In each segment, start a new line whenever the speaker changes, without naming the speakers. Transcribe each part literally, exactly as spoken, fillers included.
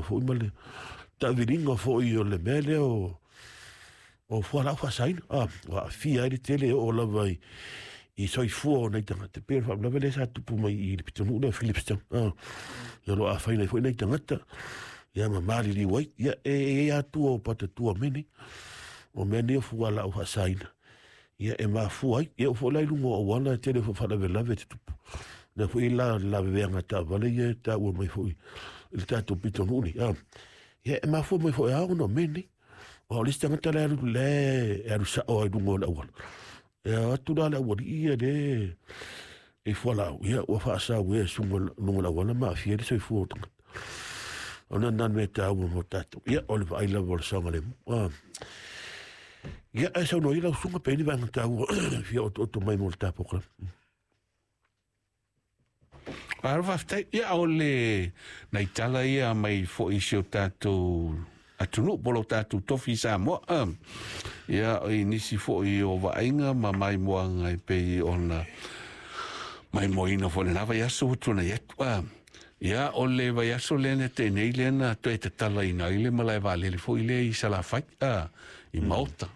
foi ma le taaviliga foi o le mea lea o o fualaau faasaina, a ua aafia ai le tele e oo lava i i soifua o nai tagata, pei o le faalavelave lea sa tupu mai i le pitonuu lea o Philipstown, a ia o lo o afaina ai foi nai tagata, ia ma maliliu ai. Ia e i ai atua o patatua o mea nei, o mea nei o fualaau faasaina, ia e mafua ai. Ia oo foi la i luga o auala e tele foi faalavelave e tutupu lea foi la laveveaga taavale ia e taua mai foi i le tatou pitonuu nei, a ia e mafua mai foi a ona o mea nei. O le isi tagata le alu le e alu sao ai luga o le auala, e atu la le aualii ia le e fualaau, ia ua faasau e suga luga o le auala ma aafia ai le soifua o tagata. O lena le mea taua mo tatou, ia o le vaai lava o le saogalemu. A ia ae saunoa ai lau susuga pe i ai ni vaega taua fia otooto mai mo le tatou.
Malo faafetai. Ia, o le nai tala ia mai foi i si o tatou atunuu po o lo tatou tofi i Samoa. Ia, i nisi foi o vaaiga ma maimoaga e pei ona maimoaina foi i lena vaiaso ua tuanai atu. Ia, o le vaiaso lea na tea nei lea na toe tatalaina ai le malae vaalele foi lea i Salafai, i Maota.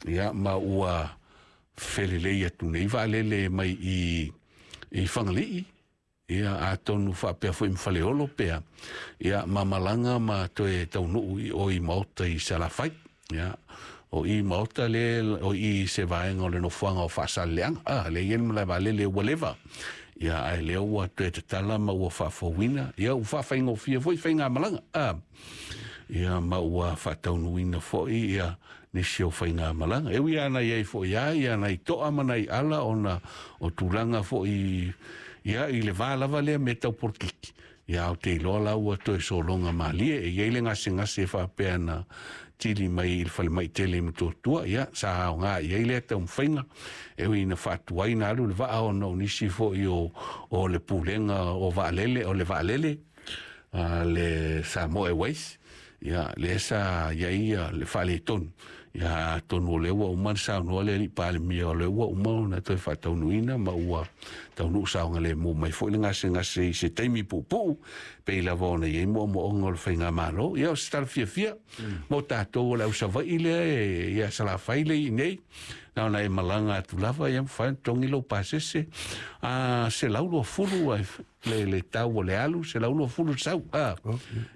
Ia, ma ua felelei atu nei vaalele mai i i Fagalii, ia atonu faapea foi ma Faleolo pea, ia ma malaga ma toe taunuu i o i Maota i Salafai. Ia, o i Maota le o i se vaega o le nofoaga o Faasaleleaga, a lea e i ai le malae vaalele ua leva. Ia, ae lea ua toe tatala ma ua faafouina, ia ua faafaigofie foi faigamalaga, a ia ma ua faataunuuina foi ia nisi o faigamalaga. E ui lava na i ai foi lava ia nai toa ma nai ala ona o tulaga foi ia i le va lava lea me tau polokiki, ia ou te iloa la ua toe sologa malie. E i ai le gasegase faapea na tili mai i le falemai tele i Motootua, ia sa aoga i ai lea taumafaiga, e ui ina faatuai na alu le vaa ona o nisi foi o, o le pulega o vaalele, o le vaalele a le Samoa Airways, ia lea sa i ai le faaletonu. Ia atonu o lea ua uma ona saunoa le alii Palemia, o lea ua uma ona toe faataunuuina ma ua taunuu saogalemu mai foi le gasegase i se taimi puupuu, pei lava ona i ai moomooga o le faigamalo. Ia o se tala fiafia mo tatou o le au Savaii lea e ia Salafai le i nei, na ona e malaga atu lava, ia mafai ona totogi lou pasese a selau luafulu ai le le tau o le alu, selau luafulu sau a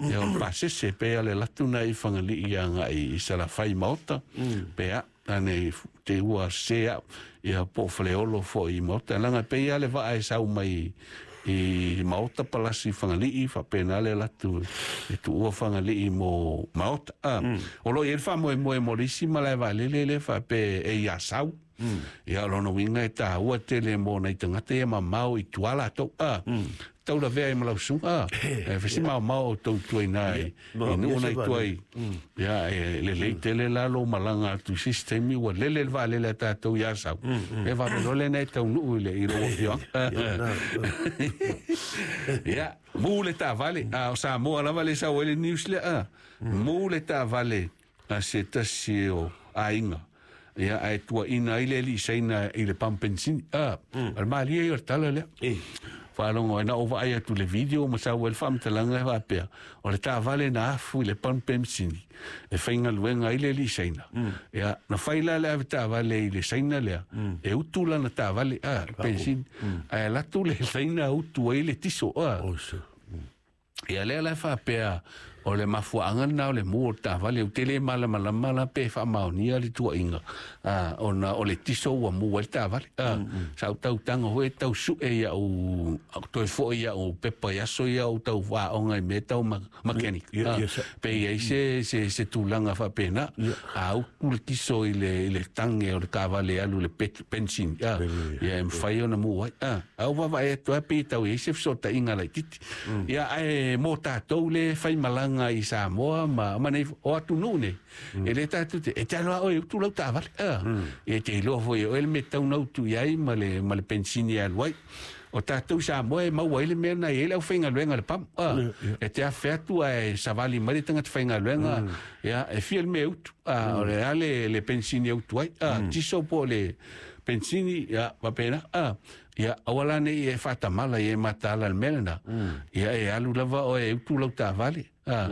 ia o le pasese pe a le latu na i Fagalii agai i Salafai Maota pe a ane te ua se au ia po o Faleolo foi i Maota, leaga pei lava le vaa e sau mai i Maota palasi Fagalii, faapena le alu atu e tuua Fagalii mo Maota. A o lo o i ai le faamoemoe mo le isi malae vaalele lea faapea e i Asau. Ia o lona uiga e taua tele mo nai tagata ia mamao i tua latou, a tau lavea ai ma lau susuga, a e fai si maomao outou tua i ina i nuu na i tua i. Ia e lelei tele la lou malaga atu i se isi taimi ua lele le vaalele a tatou i Asau, e vave loa lena e taunuu i le i lou afioaga. Ia mu le taavale, a o Samoa lava le sau ai le news lea, a mu le taavale a se tasi o aiga, ia ae tuaina ai le alii Saina i le pamu penisini, a o le malie ia o le tala lea. Faalogo ai na ou vaai atu i le video ma sau ai le faamatalaga e faapea, o le taavale na afu i le pamu penisini e faigaluega ai le alii Saina. Ia na fai la le ave taavale i le Saina lea e utu lana taavale a penisini, ae alu atu le Saina utu ai le tiso a. Ia lea la e faapea o le mafuaaga lena o le mu o le taavale, ou te le malamalama la pe faamaonia le tuuaiga ona o le tiso ua mu ai le taavale. Sa ou tautaga foi e tau sue ia'u toe foi ia'u pepa i aso ia ou tau aoga i mea tau mechanic, pe i ai se se se tulaga faapena, a utu le tiso i le i le tage o le taavale e alu i le penisini, ia e mafai ona mu ai. A ou vaavaai atu lava pei e tau i ai se fesootaiga laitiiti. Ia ae mo tatou le faimalaga i Samoa ma ma nei o atunuu nei, e le tatou te e te alo lava oe e utu lau taavale, a e te iloa foi e oe le mea e tatau ona utu i ai ma le ma le penisini e alu ai. O tatou i Samoa e maua ai le mea na i ai le aufaigaluega a le pamu, a e te afe atu ae savali mai le tagata faigaluega, ia e fia le mea e utu, a o le a le le penisini e utu ai, a tiso po o le penisini, ia faapena, a ia aua la ne i e faatamala i e mataala i le mea lena, ia e alu lava oe e utu lau taavale, a